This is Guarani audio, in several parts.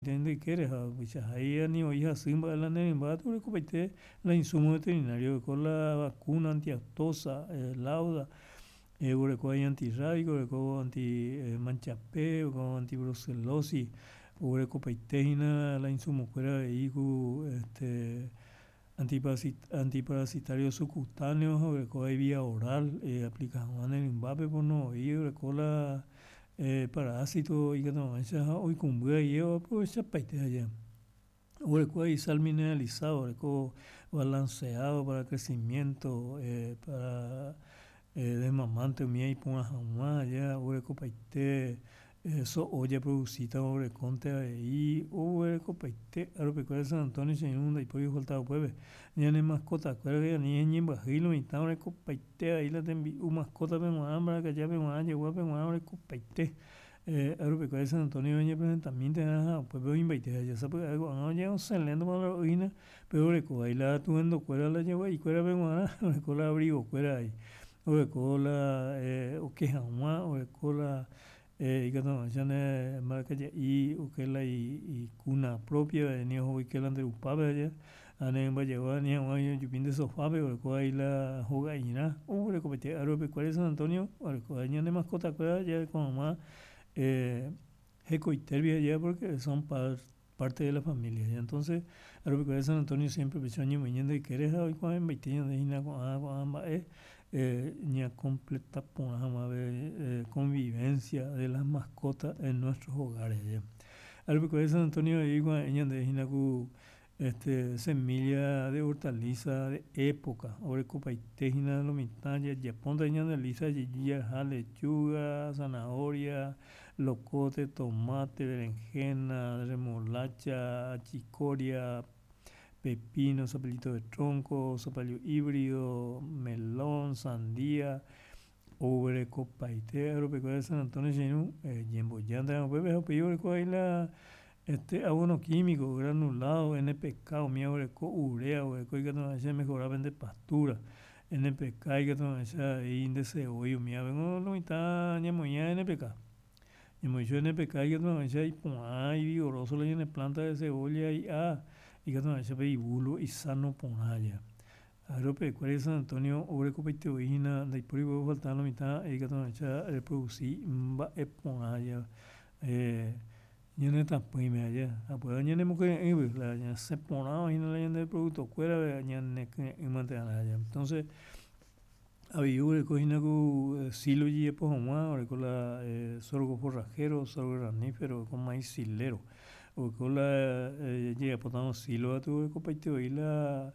Nde ykére ha upeichahái ani voi hasy mba'e la ne rymba katu orekopaite la insumo veterinario oreko la vacuna antiaftosa, lauda, oreko avei antirrábico, oreko anti manchape, oreko antibrucelosis, oguerekopaite hína la insumokuéra avei ku este antiparasitario subcutáneo ha oguereko avei vía oral eaplika hag̃ua ne rymbápe pono voi oreko la parásito ikatu hag̃uáicha ha oikũmby avei oaprovechapaite haja. Oguereko avei sal mineralizado, oreko balanceado para crecimiento, para desmamante umíva iporã hag̃ua aja oguerekopaite so'o japroducítava oguerekónte avei oguerekopaite aropekuéra San Antonio che irũ ndaipóri ofaltava upépe. Ñane mascotakuéra ani ñañembyahýi lo mitã orekopaite avei la tembi'u mascotape g̃uarã, mbarakajápe g̃uarã, jaguápe g̃uarã orekopaite. Aropekuéra San Antonio oñepresentamínte va'erã ha upépe oĩmbaite ha jasapy'ave ko'ág̃a oñeosẽ léntoma la ro'y hína, péro oreko vai la tuendokuéra la jagua'ikuérape g̃uarã, oreko la abrigokuéra avei, oreko la oke hag̃ua, oreko la ikatu hag̃uáicha ne mbarakaja'i oke la icuna propia ni oho oike la nde rupápe aja, ha ne rymba jagua ani hag̃ua ojupi nde sofápe oreko vai la hoga'irã, oguerekopaite Agropecuaria San Antonio oreko vai ñane mascotakuéra jareko hag̃ua hekoitérupi jaje'a porque son parte de la familia. Entonces Agropecuaria San Antonio siempre upéicha oñemoĩ ñande ykére ha oikuave'ẽmbaite ñande hína ko'ã ko'ã mba'e ñacompleta porã hag̃ua pe convivencia de las mascotas en nuestros hogares. Agropecuaria San Antonio avei oikuave'ẽ ñande hína ku este semilla de hortaliza de época orekopaite hína lo mitã jajapónte ñande lista jeju jaha lechuga, zanahoria, locote, tomate, berenjena, remolacha, achicoria, pepino, zapallito de tronco, zapallo híbrido, melón, sandía, oguerekopaite Agropecuaria San Antonio che irũ ñemboja upépe ha upéi oreko avei la este abono químico, granulado, NPK umíva oguereko urea oguereko ikatu hag̃uáicha emejora pende pastura, NPK ikatu hag̃uáicha avei nde cebolla umíva lo mitã ñamoĩva NPK. Ñamoĩ chupe NPK ikatu hag̃uáicha iporã ivigoroso la ñane planta de cebolla hi'a ikatu hag̃uáicha pe ibulbo isano porã aja. Agropecuaria San Antonio oguerekopaite voi hína ndaipóri voi ofalta lo mitã ikatu hag̃uáicha reproduci mba'e porã aja ñane tapỹime aja. Ha upéva ñanemokyre'ỹgui la ñasẽ porãva hína la ñande producto-kuérape ñanekyre'ỹmante va'erã aja. Entonces avei oguereko hína ku silo ojejapo hag̃ua oreko la sorgo forrajero, sorgo granífero, oreko maíz silero. Oreko la jajapótarõ silo katu orekopaite voi la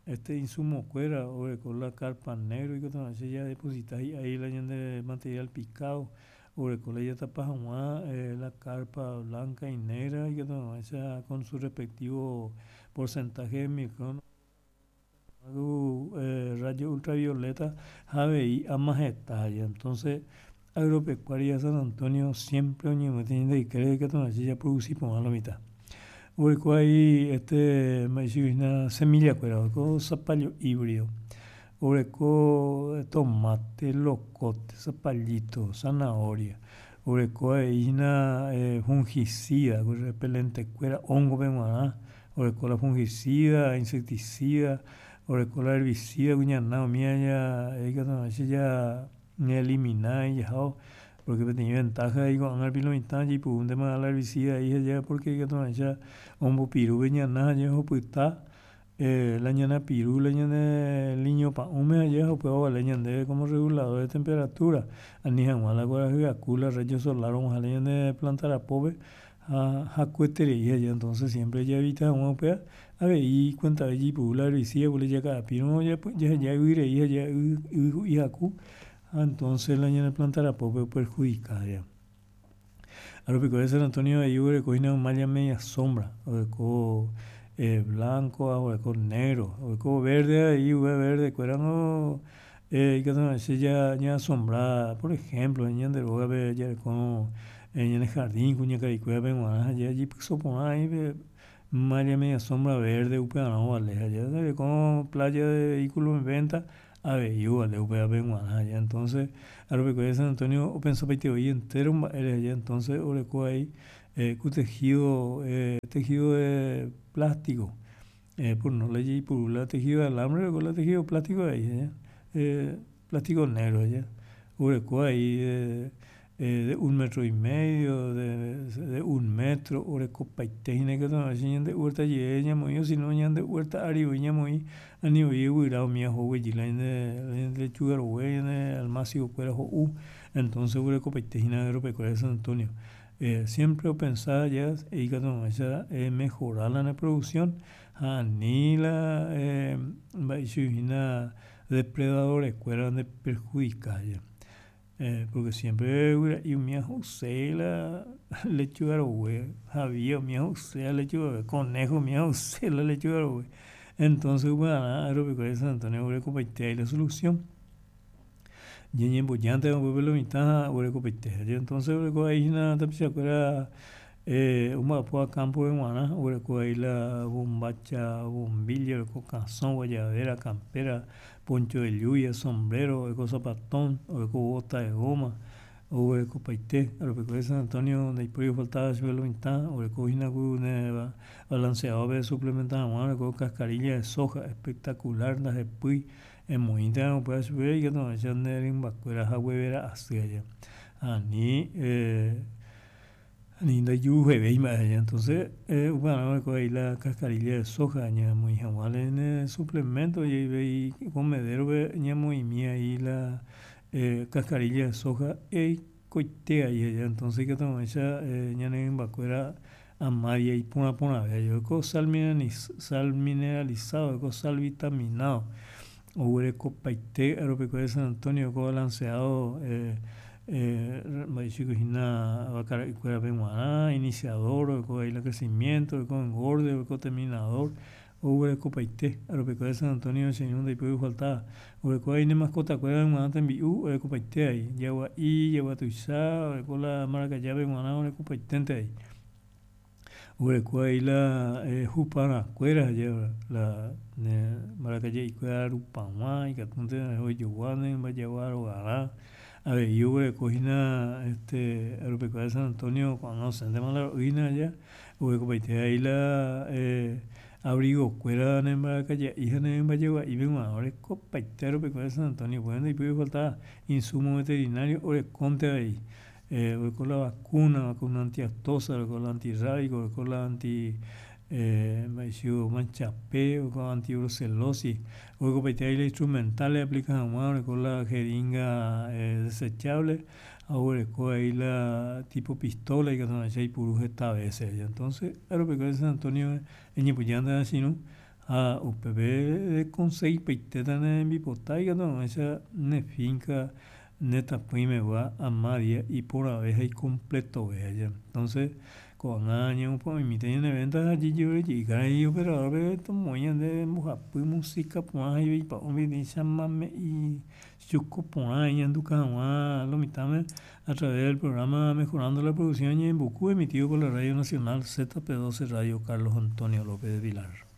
Este insumokuéra oguereko la carpa negro ikatu hag̃uáicha jadeposita hi'ái la ñande material picado, oguereko la jatapa hag̃ua la carpa blanca y negra ikatu hag̃uáicha con su respectivo porcentaje de micron rayo ultravioleta ha avei ama heta aja. Entonces Agropecuaria San Antonio siempre oñembyete ñande ykére ikatu hag̃uáicha japroduci porã lo mitã. Oguereko avei este mba'éichagui hína semillakuéra, oguereko zapallo híbrido, oguereko tomate, locote, zapallito, zanahoria, oguereko avei hína fungicida, repelentekuéra hongope g̃uarã, oguereko la fungicida, insecticida, oguereko la herbicida kuñana umíva ikatu hag̃uáicha ja Ñaelimina ijahávo, porque peteĩ ventaja he'i ko'ág̃a rupi lo mitã jaipurúntema la herbicida he'i ha porque ikatu hag̃uáicha ombopiru pe ñana ha jahupyta la ñana piru la ñane liño pa'ũme ha jaha upéva ovale ñandéve como regulador de temperatura ani hag̃ua la kuarahy aku la rayo solar og̃uahẽ la ñane planta rapópe ha hakueterei aja entonces siempre jaevita hag̃ua upéva avei ikuentave jaipuru la herbicida pórke jaka'apírõ jaheja yvy rei ha yvy ku'i haku ha entonces la ñane planta rapópe operhudika aja. Aropecuaria San Antonio avei oguereko hína malla media sombra, oguereko blanco ha oguereko negro, oguereko verde avei upe verde kuérango ikatu hag̃uáicha ñaasombra por ejemplo ñande rógape jarekórõ ñane jardín kuñakaikuérape g̃uarã ha jajeipyso porã ahí pe malla media sombra verde upearã ovale ha jarekórõ playa de vehículo en venta avei ovale upévape g̃uarã ha entonces aropekuéra San Antonio opensapaite voi entero mba'ére aja entonces oreko avei. Ku tejido, tejido de plástico, por no la jaipuru la tejido de alambre oreko la tejido plástico avei, plástico negro aja, oreko avei de un metro y medio, de un metro, orekopaite hína ikatu hag̃uáicha ñande huerta jere ñamoĩ o si no ñande huerta ári voi ñamoĩ ani voi guyra umi oguejy la ñande lechuga rogue, ñane almácigo-kuéra ho'u, entonces oguerekopaite hína Agropecuaria San Antonio. Siempre opensa ja ikatu hag̃uáicha emejora la ne producción ha ani la mba'éicha hína depredadores-kuéra nde perjudica ja. Porque siempre guyra'i umi ho'use la lechuga rogue, javia umi ho'use la lechuga rogue, conejo umi ho'use la lechuga rogue. Entonces upearã Agropecuaria San Antonio oguerekopaite avei la solución. Ñañembojántema upépe lo mitã ha oguerekopaite. Entonces oreko avei hína tapichakuéra omba'apóva campo-pe g̃uarã, oguereko avei la bombacha, bombilla, oreko kasõ, guayabera, campera, poncho de lluvia, sombrero, oreko zapatón, oreko bota de goma, oguerekopaite. Agropecuaria San Antonio ndaipóri ofaltava chupe lo mitã, oreko hína ku ne balanceado-pe suplementa hag̃ua, oreko cascarilla de soja espectacular ndahepýi. Emoĩnte upéva chupe ikatu hag̃uáicha nde rymbakuéra haguevera asy aja. Ani ani ndajuhevéi mba'e aja. Entonces upearã oreko avei la cascarilla de soja ñamoĩ hag̃ua ne suplemento jeyvei comedero-pe ñamoĩmi ai la cascarilla de soja eikoite ai aja. Entonces ikatu hag̃uáicha ñane rymbakuéra Amádia iporã porãve aja. Sal mineralizado, oiko sal vitaminado, oguerekopaite Agropecuaria San Antonio ko balanceado mba'éichiko hína vaka ra'ykuérape g̃uarã, iniciador, oiko avei la crecimiento, oiko engorde, oiko terminador, oguerekopaite Agropecuaria San Antonio che irũ ndaipói ofaltáva, oguereko avei ne mascotakuérape g̃uarã tembi'u orekopaite avei, jagua'i, jagua tuicha, oreko la marakajápe g̃uarã orekopaiténte avei. Oguereko avei la huparãkuéra la ne mbarakaje'ikuéra rupag̃ua ikatúnte ojogua ne mbajagua rogarã. Avei oguereko hína este Agropecuaria San Antonio ko'ág̃a osẽntema la ro'y hína aja, oguerekopaite avei la abrigo-kuéra ne mbarakaje'i ha ne mbajagua'ípe g̃uarã orekopaite Agropecuaria San Antonio upéva ndaipói ofalta insumo veterinario orekónte avei. Oreko la vacuna, vacuna antiaftosa, oreko la antirrábico, oreko la anti mba'eichagua manchape, oreko antibrucelosis, orekopaite avei la instrumental eaplika hag̃ua, oreko la jeringa desechable ha oguereko avei la tipo pistola ikatu hag̃uáicha oipuru heta vece. Entonces, aeropecuaria San Antonio eñepyjánte che irũ ha upépe rekonsegipaitéta ne rembipota ikatu hag̃uáicha ne finca Ne tapỹimegua amádia iporãve ha ikompletove aja. Entonces, ko'ág̃a ñamopu'ãmimíta ñane venta ha jajerure karai operador-pe tomoĩ ñande mbohapy música porã ha ivaipa'ũme peteĩ chamame'i chuko porã iñanduka hag̃ua lo mitãme a través del programa Mejorando la Producción Ñe'ẽmbuku emitido por la Radio Nacional ZP12 Radio Carlos Antonio López de Pilar.